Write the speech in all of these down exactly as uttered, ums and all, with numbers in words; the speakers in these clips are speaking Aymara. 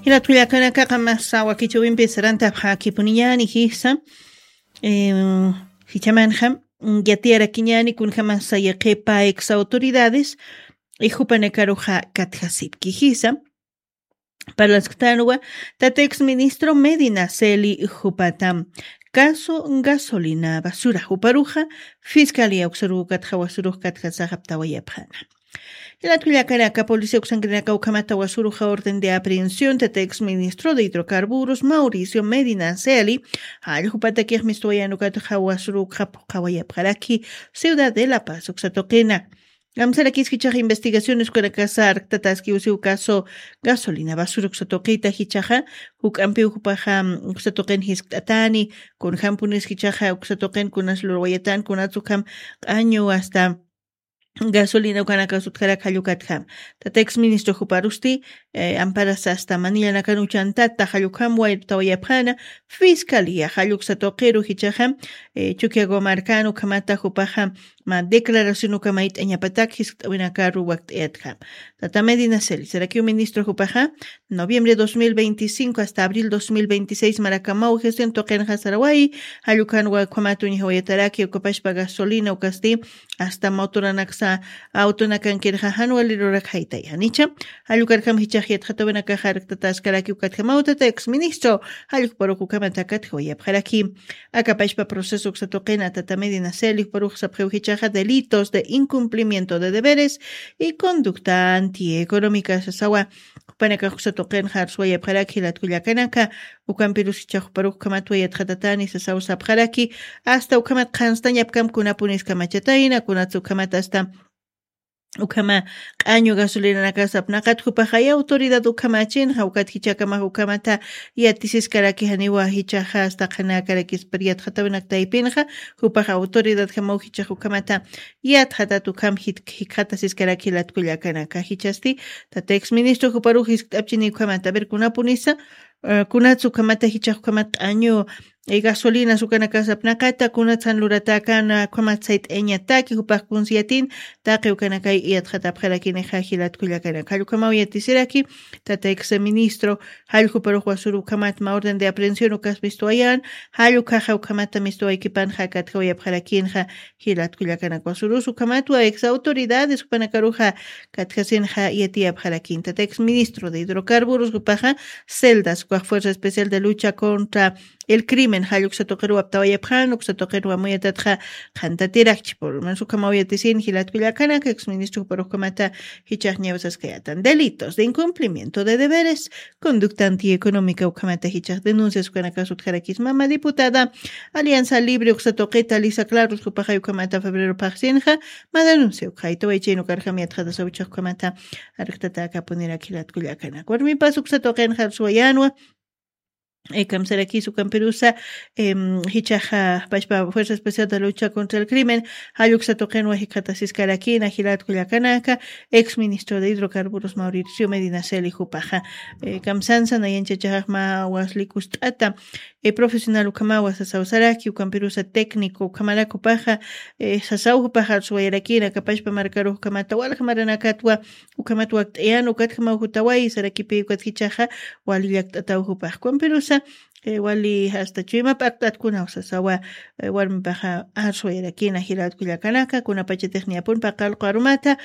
Jilat kullakanaka qamasa wakichawimpi sarantapxakipuniñani jisa. Jichamanxa yatiyarakiñani kunjamasa yaqhipa ex autoridades, ijupanakaruxa katjasipki jisa. Parlasktanwa tata ex ministro Medina Celi jupata caso gasolina basura juparuxa fiscalía uksaruw katjawasurux katjasaxaptawayapxana. Jilat kullakanaka policía uksankirinaka ukhamata wasuruxa orden de aprehensión tata ex ministro de hidrocarburos Mauricio Medina Celi, jalljupatakix mistuwayanukatxa wasuruxa phuqawayapxaraki ciudad de La Paz uksatuqina. Amsarakis jichaxa investigaciones ukanakasa arktataski usiw caso gasolina basura uksatuqita jichaxa juk'ampiw jupaxa uksatuqin jiskt'atani, kunjampunis jichaxa uksatuqin kunas lurwayatan kunatsukham q'añu asta gasolina ukanakasutkarak jallukatjam. Tata ex ministro juparusti amparasa asta manillanakan uchantata jallukjam waytawayapxana. Fiscalía jalluksa tuqiru jichaxa chukiago markan ukhamata jupaxa ma declaración ukamayt'añapatak jiskt'awinakaru wakt'ayatjam. Tata Medina Celi sarakiw ministro jupaxa noviembre dos mil veinticinco asta abril dos mil veintiséis marakamaw gestión tuqinxa saraway jallukan wakhumat uñjawayataraki ukapashpa gasolina ukasti asta motoranaksa autonakan kirxa janwalirurak jaytayanicha. Jallukarkam jichax yatxatawinakaxa arktataskarakiw katjamaw tata ex ministro jallukparuk ukhamata katjawayapxaraki. Akapashpa proceso uksatuqina tata Medina Celi juparuk sapxiw jichaxa delitos de incumplimiento de deberes y conducta antieconómica sasawa. Jupanakax uksatuqinxa arswayapxaraki jilat kullakanaka. Ukampirus jichax juparuk ukhamatwa yatxatatani sasaw sapxaraki asta ukhamat qhanstañapkam kunapunis kamachatayna kunatsa ukhamat asta ukhama q'añu gasolinanakasapnaqat jupaxay autoridad ukhamachinxa ukat jichakamax ukhamata yatisiskaraki janiwa jichaxa asta qhanakarakispar yatxatawinak taypinxa jupax autoridadjamaw jichax ukhamata yatxatat ukham jikxatasiskaraki jilat kullakanaka jichasti tata ex ministro juparux jiskt'apchini ukhamata ver kunapunisa kunatsa ukhamata jichax ukhamat q'añu gasolinas ukanakasapnaqata kunatsan luratäkana ukhamat sayt'ayañataki jupax kunsiyatin taqi ukanakay yatxatapxarakinixa jilat kullakanaka jallukamaw yatisiraki. Tata ex ministro jalljuparux wasuru ukhamat ma orden de aprehensión ukas mistuwayan jallukhaxa ukhamata mistuwaykipanxa katjawayapxarakinxa. Jilat kullakanaka wasurus ukhamatwa ex autoridades jupanakaruxa katjasinxa yatiyapxarakin tata ex ministro de hidrocarburos jupaxa celdas ukax fuerza especial de lucha contra el crimen jalluksa tuqiruw aptawayapxan uksa tuqiruw amuyatatxa qhantatirakchi por lo menos ukhamaw yatisin jilat kullakanaka ex ministro juparux ukhamata jichax ñawisaskayatan delitos de incumplimiento de deberes conducta antieconómica ukhamata jichax denuncias ukanakas utjarakismama diputada alianza libre uksa tuqita lisa clarus jupaxay ukhamata febrero phaxsinxa ma denuncia ukxaytaway chaynukarjam yatxatasawchax ukhamata arktata akapunirak jilat kullakanak warmipas uksa tuqinxa arsuwayanwa. Kamsarakis ukampirusa jichaxa pashpa fuerza especial de lucha contra el crimen jalluksa tuqinwa jikxatasiskarakina jilat kullakanaka ex ministro de hidrocarburos Mauricio Medina Celi jupaxa kamsansa nayanchachaxax mä waslikust'ata profesional ukhamawa sasaw saraki ukampirusa técnico ukhamarak jupaxa sasaw jupaxa arsuwayarakina kapashpa markarux ukhamata walja maranakatwa ukhamat wakt'ayan ukatjamaw jutaway sarakipi ukat jichaxa wali llakt'ataw jupax ukampirusa wali asta chuyma p'akt'atkunaw sasawa warmipaxa arsuwayarakina jilat kullakanaka kunapachatix niyapun paqallqu arumata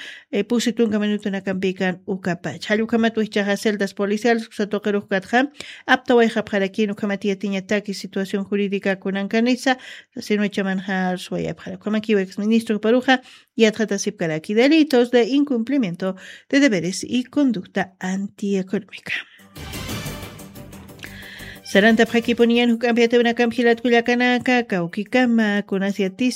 pusi tunka minutunakampikan ukapach jallukhamat wijchaxa celdas policiales uksa tuqirux katxa aptawayxapxarakin ukhamat yatiñataki situación jurídica kunankanisa sasinuchamanxa arsuwayapxara ukhamakiw ex ministro juparuxa yatxatasipkaraki delitos de incumplimiento de deberes y conducta antieconómica. Sarantapxakipuniyan juk'ampi yatawinakamp jilat kullakanaka kawkikama kunas yatis